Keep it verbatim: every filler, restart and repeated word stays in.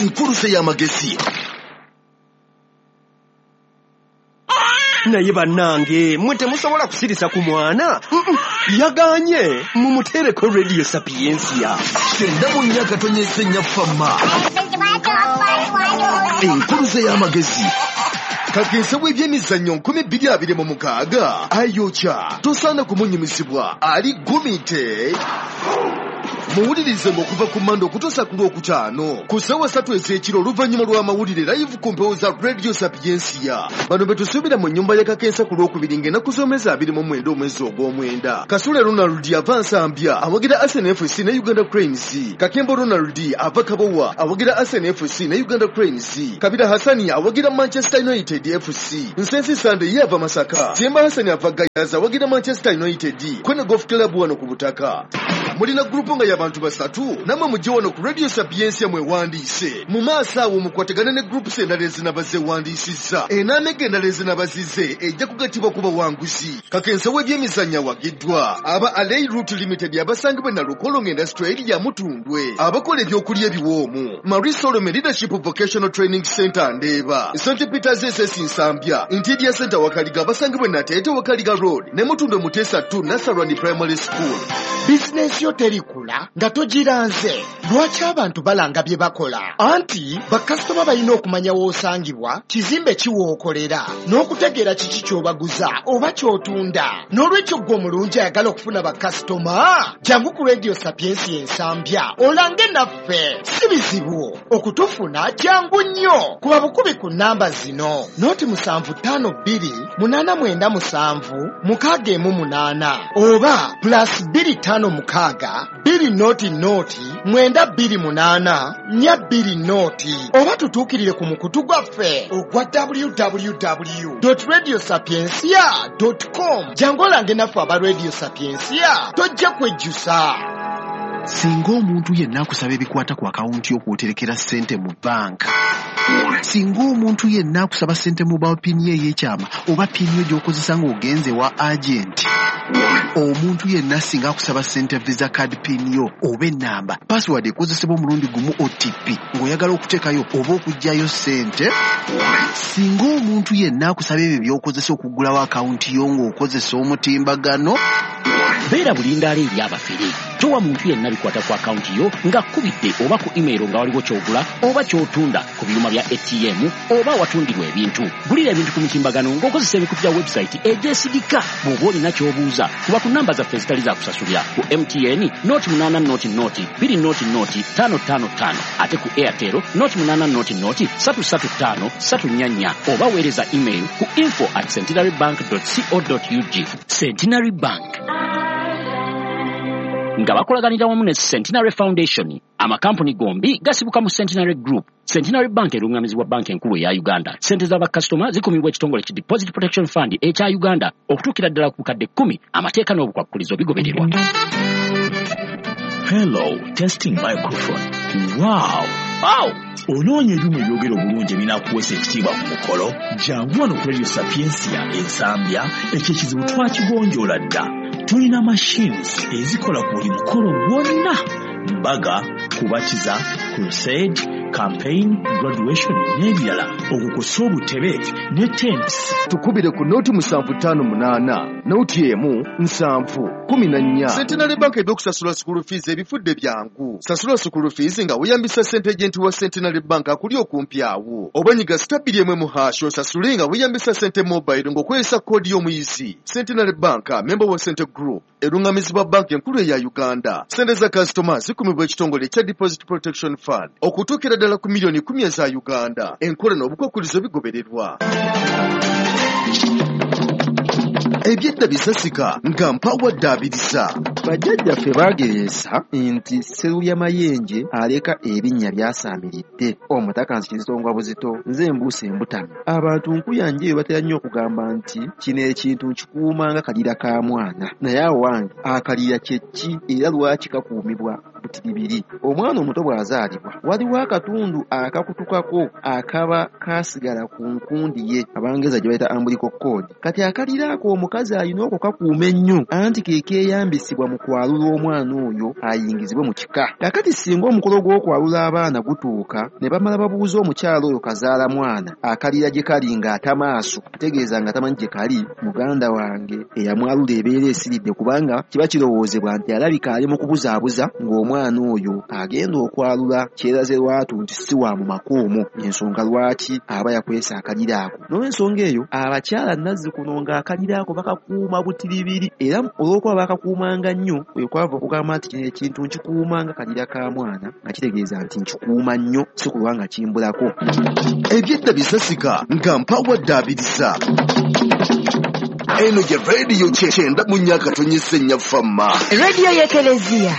Enkuluze y'amagezi. Naye bannange, mwe temusobola kusirisa ku mwana. Yaganye, mumuteereko Radio Sapientia. Kyenda mu nnya katonyeze nnya fama. Enkuluze y'amagezi. Kakensa w'ebyemizannyo nkumi bbiri abiri mu mukaaga ayokya, tosaana kumunyumizibwa, ali gumite. Muwulirize ng'okuva ku Mmande okutuusa ku Lwokutaano ku ssaawa ssatu ez'ekiro oluvannyuma lw'amawulire live ku mpewo za Radio Sapientia. Bano be tusuubira mu nnyumba ya Kakensa ku Lwokubiri ng'ennaku z'omwezi abiri mu mwenda omwezi ogw'omwenda. Kasule Ronald ava Nsambya awagira Arsenal F C ne Uganda Cranes. Kakembo Ronald ava Kabowa awagira Arsenal F C ne Uganda Cranes. Kabira Hassani awagira Manchester United F C. Nsensi Sande ye ava Masaka. Temba Hassani ava Gayaza awagira Manchester United. Kwene Golf Club wano ku butaka. Mulina gurupu nga y'abantu basatu namwe mujje wano ku Radio Sapientia mwewandiise. Mu maaso awo mukwatagane ne groups endala ezinaba zeewandiisizza. Enaamega endala ezinaba zize ejja kugattibwa ku bawanguzi. Kakensa w'ebyemizannyo awagiddwa aba Alei Route Limited abasangibwa Nalukolongo Industrial Area Mutundwe, abakola ebyokulya ebiwoomu, Marie Solomon Leadership Vocational Training Center Ndeeba, Saint Peters S S Nsambya, Interior Center Wakaliga abasangibwa Nateete Wakaliga Road ne Mutundwe Muteesa two Nasarani Primary School. Bizinensi yo terikula nga togiranze. Lwaki abantu balanga bye bakola? Anti bakasitoma balina okumanya w'osangibwa, kizimbe ki w'okolera, n'okutegeera kiki ky'obaguza oba ky'otunda. N'olwekyo ggwe omulungi ayagala okufuna bakasitoma, jangu ku Radio Sapientia Ensambya olange naffe. Si bizibu okutufuna, jangu nnyo. Kuba bukubi ku nnamba zino: noti musanvu ttaano bbiri munaana mwenda musanvu mukaaga emu munaana oba plus bbiri ttaano mukaaga bbiri noti noti mwenda bbiri munaana nnya bbiri noti, oba tutuukirire ku mukutu gwaffe ogwa w w w dot radio sapientia dot com. Jangu olange naffe aba Radio Sapientia, tojja kwejjusa. Singa omuntu yenna akusaba ebikwata ku akawunti y'okwoterekera ssente mu banka, singa omuntu yenna akusaba ssente mobile pin ye ey'ekyama oba pin yo gy'okozesa ng'ogenze wa agenti, omuntu yenna singa akusaba ssente visa card pin yo oba ennamba, password ekozesebwa omulundi gumu O T P ng'oyagala okuteekayo oba okuggyayo ssente, singa omuntu yenna akusaba ebyo by'okozesa okuggulawo akawunti yo ng'okozesa omutimbagano, beera bulindaala eri abafere. Towa muntu yenna bikwata ku akawunti yo ng'akubidde oba ku email nga waliwo ky'ogula oba ky'otunda ku byuma bya A T M oba awatundirwa ebintu. Gulira ebintu ku mitimbagano ng'okozesa emikutu gya website egyesigika. Bw'oba olina ky'obuuza, kuba ku namba zaffe ezitali za kusasulira ku M T N noti munaana noti noti bbiri noti noti ttaano ttaano ttaano, ate ku Airtel noti munaana noti noti ssatu ssatu ttaano ssatu nnya nnya, oba weereza email ku info at centenary bank dot co dot ug. Centenary Bank nga bakolaganira wamu ne Centenary Foundation. Amakampuni gombi gasibuka mu Centenary Group. Centenary Bank erungamizibwa banka enkulu eya Uganda. Ssente z'abakasitoma zikumibwa ekitongole ki Deposit Protection Fund ekya Uganda okutuukira ddala ku bukadde kkumi. Amateeka n'obukwakkulizo bigobererwa. Hello, testing microphone. Wow! Wow! Onoonya ebyuma ebyogera obulungi ebinaakuweesa ekitiibwa ku mukolo? Jangu wano ku Radio Sapientia Ensambya, ekyo ekizibu twakigonjoola dda. Tulina machines ezikola ku buli mukolo gwonna: mbaga, kubatiza, crusade, campaign, graduation n'ebirala, okukosa obutebe ne tents. Tukubire ku noti musanvu ttaano munaana noti emu nsanvu kumi na nnya. Centenary Bank ebyokusasula school fees ebifudde byangu. Sasula school fees nga weeyambisa ssente agent wa Centenary Bank akuli okumpi awo, oba nyiga star bbiri emu mu hash osasule nga weeyambisa ssente mobile ng'okozesa koodi y'omuyizi. Centenary Bank, member wa Cente Group, erungamizibwa banka enkulu eya Uganda. Ssente za kasitoma zikumibwa ekitongole ekya Deposit Protection Fund okutuukira ddala ku miliyoni kumi eza Uganda. Enkola n'obukwakkulizo bigobererwa. Ebyedda bisasika nga mpawa ddaabiriza. Bajjajjaffe baagereesa nti Sserulya Mayenje aleka ebinnya byasaamiridde. Omutaka nzikizitongwa buzito, nze mbuuse embutano. Abantu nkuyanja eyo batera nnyo okugamba nti kino ekintu nkikuuma nga kalira ka mwana. Naye awo wange akalira kye ki era lwaki kakuumibwa Butiribiri. Omwana omuto bw'azaalibwa waliwo akatundu akakutukako akaba kasigala ku nkundi ye, Abangereza gye bayita umbilical cord. Kati akalira ako omukazi alina okukakuuma ennyo, anti ke keeyambisibwa mu kwalula omwana oyo ayingizibwe mu kika. Kaakati singa omukolo gw'okwalula abaana gutuuka ne bamala babuuza omukyala oyo kazaala mwana akalira gye kali ng'atamaaso, ategeeza nga tamanyi gye kali, muganda wange eyamwalula ebeera esiridde, kubanga kiba kirowoozebwa nti alabika ali mu kubuzaabuza ng'omwana oyo agenda okwalula kyeraze lwatu nti si wa mu maka omwo, ensonga lwaki aba yakwesa akalira ako. N'olwensonga eyo abakyala nazzikuno ng'akalira ako bakakuuma butiribiri, era olw'okuba bakakuumanga nnyo kwe kwava okugamba nti kino ekintu nkikuuma nga kalira ka mwana, nga kitegeeza nti nkikuuma nnyo si kulwa nga kimbulako. Ebyedda bisasika nga mpawadde abirisa. Eno ye rediyo kyenda mu nnya akatonyesa ennya Fama. Rediyo y'Ekereziya.